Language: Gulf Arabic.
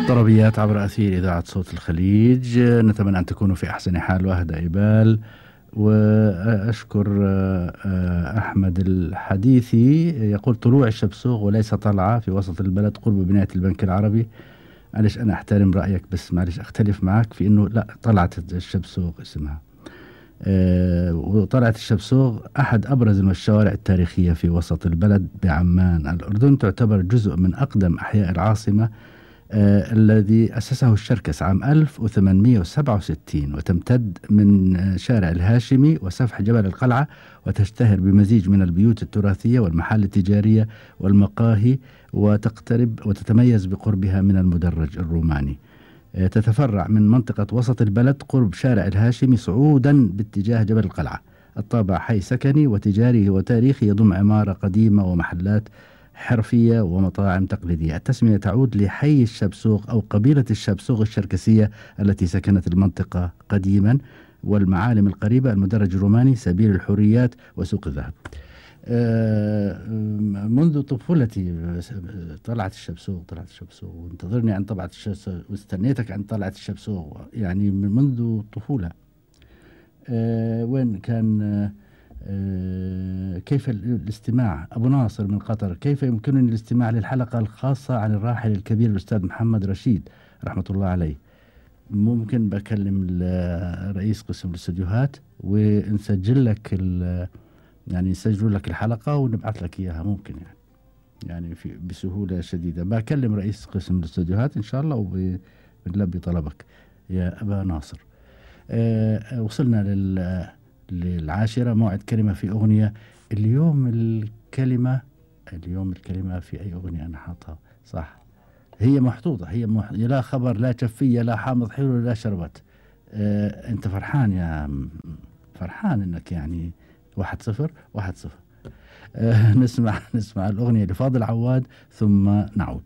طربيات عبر أثير إذاعة صوت الخليج. نتمنى أن تكونوا في أحسن حال وأهدى إبال. وأشكر أحمد الحديثي يقول طلوع الشبسوغ وليس طلعة في وسط البلد قرب بناية البنك العربي. معلش أنا أحترم رأيك بس معلش أختلف معك في أنه لا طلعت الشبسوغ اسمها. وطلعت الشبسوغ أحد أبرز الشوارع التاريخية في وسط البلد بعمان الأردن. تعتبر جزء من أقدم أحياء العاصمة الذي أسسه الشركس عام 1867 وتمتد من شارع الهاشمي وسفح جبل القلعة وتشتهر بمزيج من البيوت التراثية والمحال التجارية والمقاهي وتتميز بقربها من المدرج الروماني. تتفرع من منطقة وسط البلد قرب شارع الهاشمي صعودا باتجاه جبل القلعة. الطابع حي سكني وتجاري وتاريخي يضم عمارة قديمة ومحلات حرفية ومطاعم تقليدية. التسمية تعود لحي الشبسوغ أو قبيلة الشبسوغ الشركسية التي سكنت المنطقة قديما. والمعالم القريبة المدرج الروماني سبيل الحريات وسوق الذهب. منذ طفولتي طلعت الشبسوغ وانتظرني عن طلعت الشبسوغ واستنيتك عن طلعت الشبسوغ يعني منذ الطفولة. وين كان كيف الاستماع؟ أبو ناصر من قطر: كيف يمكنني الاستماع للحلقة الخاصة عن الراحل الكبير الأستاذ محمد رشيد رحمة الله عليه؟ ممكن بكلم رئيس قسم الاستديوهات ونسجل لك يعني نسجل لك الحلقة ونبعث لك إياها. ممكن يعني بسهولة شديدة. بكلم رئيس قسم الاستديوهات إن شاء الله وبنلبي طلبك يا أبا ناصر. وصلنا للعاشرة. موعد كلمة في أغنية. اليوم الكلمة في أي أغنية أنا حاطها صح؟ هي محطوطة. لا خبر لا شفية لا حامض حلو لا شربت. أنت فرحان يا فرحان إنك يعني 1-0. نسمع الأغنية لفاضل عواد ثم نعود.